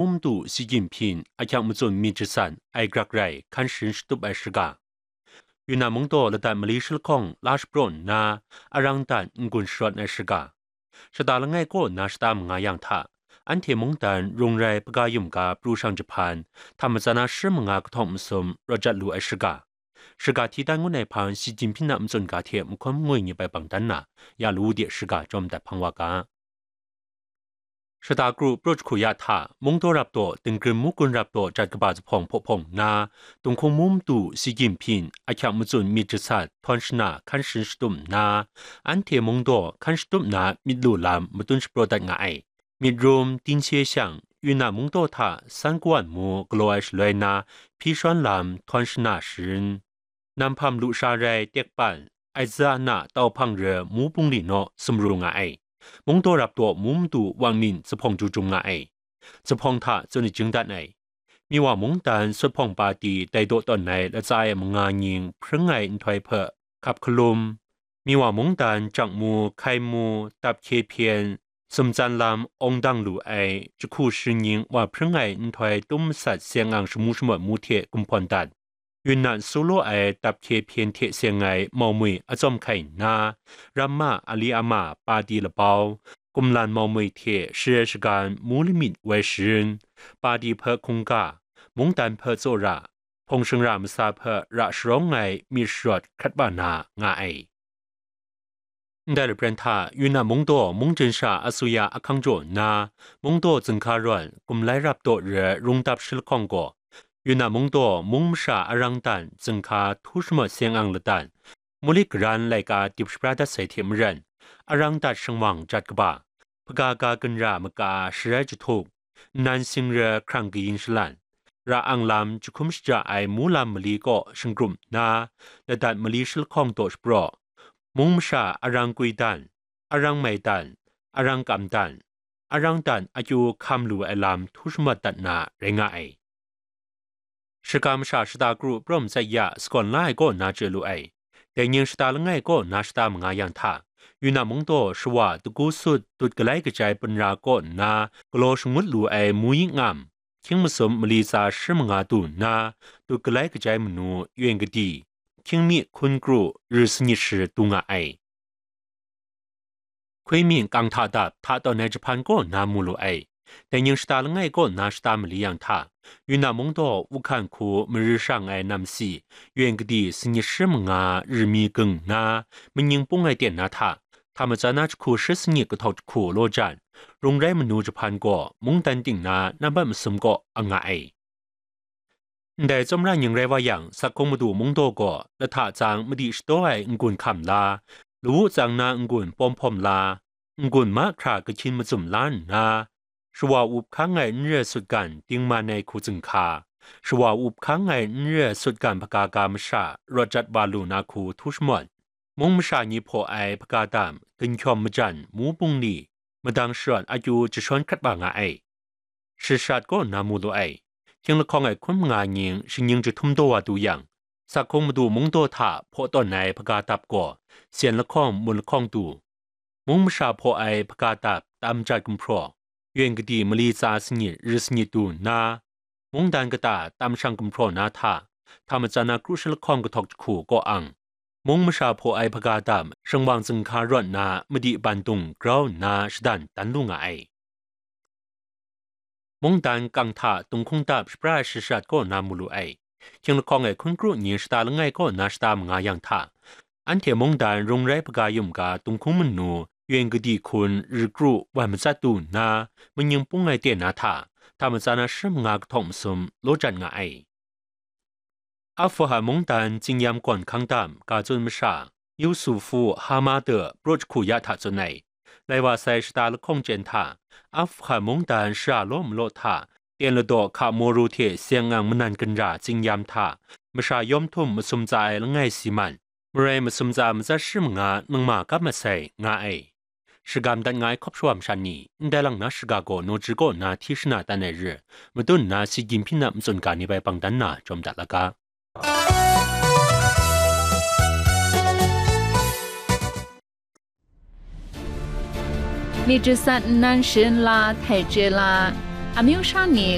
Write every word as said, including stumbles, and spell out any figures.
Mung madu Xi Jinping ahkyak matsun myit jasat ai grak rai hkan sharin shatup ai shaga, Yunnan mungdaw ladat mali shalahkawng la shapraw nna, arang dat n-gun sharawt ai shaga, shata langai kaw na shata manga yang hta, anhte mungdan rung rai hpaga yum ga pru shang jahpan, hta matsan na shi manga kahtawng masum rawt jat lu ai shaga, shaga hti dan ngun ai hpang Xi Jinping a matsun ga hte mahkawm ngoi ngip ai bang dan na, ya lawu de shaga jawm dat hpang wa ga. Shata kru pru jahku ya hta, mungdaw rap daw, dingrim mugun rap daw jat kaba zuphpawng hpaw hpawng nna, Tunghkung mung madu Xi Jinping ahkyak matsun myit jasat htawn shana hkan sharin shatup nna, anhte mungdaw hkan shatup na myit lu lam matun shapraw dat nga ai. Myit rum, Dinghcie shang, Yunnan mungdaw hta San Kawan mu galaw ai shaloi na, hpyi shawn lam htawn shana sharin, Nanhpam lusha rai tekpan, Aiza na tau hpang re mu bungli naw sumru nga ai. Mungdaw rap daw mu madu Wang Ning zuphpawng jujum nga ai. Zuphpawng hta tsun ajing dat ai. Miwa mungdan sut hpawng pati dai daw tawn ai latsa e manga nying hpring ai nhtoi hpe hkap hkalum, Miwa mungdan jang mu, hkai mu, dap hkye hpyen, sumtsan lam awng dang lu ai jahku sharin nying wa hpring ai nhtoi tum masat seng ang shamu shamawt mu hte gumhpawn dat, Yunnan su law ai dap hkye hpyen hte seng ai maumwi atsawm hkai nna, Ramma Ali Ama pati labau, Kumlan maumwi hte Sharai Shagan mu lamit woi sharin, pati hpe hkungga, mungdan hpe tsawra, hpawng shingra masa hpe ra sharawng ai myit sharawt hkrat wa na nga ai. Ndai lapren hta, Yunnan mungdaw mung jen sha asuya ahkang jaw nna, mungdaw zunghka rawt, kumlai rap daw re rungdap shalahkawng gaw, Yunnan mungdaw mung masha arang dan zunghka htu shamawt seng ang ladan, mulik garan laika dip shapra dat sai hte maren, arang dat shingwang jat kaba, hpaga ga ginra maka sharai jahtuk, nnan sing re hkrang kayin shalan, ra ang lam jahkum shaja ai mu lam mali kaw shinggrum nna, ladat mali shalahkawng daw shapraw, mung masha arang kwi dan, arang mai dan, arang kam dan, arang dan akyu hkam lu ai lam htu shamawt dat na rai nga ai. Shaga masha shata kru prum tsai ya sakawn la ai kaw na chye lu ai. Dai nying shata langai kaw na shata manga yang hta, Yunnan mungdaw shawa dagu sut dut galai kajai punra kaw nna galaw shangut lu ai mu yi ngam, hkying masum mali tsa shi manga du nna, dut galai kajai manu yen kadi, hkying mi hkun kru ri sanit shi du nga ai. Hkui myin kang hta dap hta tawn ai jahpan kaw na mu lu ai. Dai nying shata langai kaw na shata mali yang hta, Yunnan mungdaw Wuhan hku mari shang ai namsi, yen kadi sanit shi manga ri mi ging nna, maning pung ai ten na hta, hta matsan na jahku shi sanit kahtawk jahku law jan, rung rai manu jahpan gaw mungdan ting na nambat masum kaw ang nga ai. Ndai tsawmra nying rai wa yang, Sakhung madu mungdaw gaw lahta tsang madi shadaw ai n-gun hkam la, lawu tsang na n-gun pawm hpawm la, n-gun mahkra kahkyin mazum la nna, shawa up hkang ai n re sutgan dingman ai hku zunghka, shawa up hkang ai n re sutgan hpaga ga masha rawt jat wa lu na hku htu shamawt, mung masha ni hpaw ai hpaga dam, ginhkyawm majan, mu bungli, madang sharawt akyu jashawn hkrat wa nga ai. Shishat kaw na mu lu ai. Hkying lahkawng ai hkun manga nying shingnying jahtum daw wa du yang, Sakhung madu mungdaw hta hpaw tawn ai hpaga dap gaw, sen lahkawng, mun lahkawng du, mung masha hpaw ai hpaga dap tam jat gumhpraw, yen kadi mali tsa sanit ri sanit du nna, mungdan kata tam shang gumhpraw na hta, hta matsan na kru shi lahkawng kahtawk jahku kaw ang, mung masha hpaw ai hpaga dap shingwang zunghka rawt na madi bandung grau nna shadan dan lu nga ai. Mungdan kang hta Tunghkung dap shapra ai shishat kaw na mu lu ai. Hkying lahkawng ai hkun kru ni shata langai kaw na shata manga yang hta, anhte mungdan rung rai hpaga yum ga Tunghkung manu yen kadi hkun ri kru wan matsat du nna, maning pung ai ten na hta, hta matsan na shi manga kahtawk masum law jan nga ai. Afgahan mungdan Tsingyam gawn hkang dam ga tsun masha, Yusufu Hamada pru jahku ya hta tsun ai. Lai wa sai shata lahkawng chyen hta, Afgahan mungdan shara law malaw hta, ten ladaw hka moru hte seng ang manan ginra Tsingyam hta, masha yawm htum masum tsa ai langai si man, marai masum tsa matsat shi manga nangma kap masai nga ai. Shagam dat nga ai hkawp shawa masha ni, ndai lang na shaga gaw naw ji kaw na hti shana dan ai re, madun nna Xi Jinping a matsun ga ni bai bang dan na jawm dat la ga. 你只三难神啦，太绝啦，阿မျိုး啥你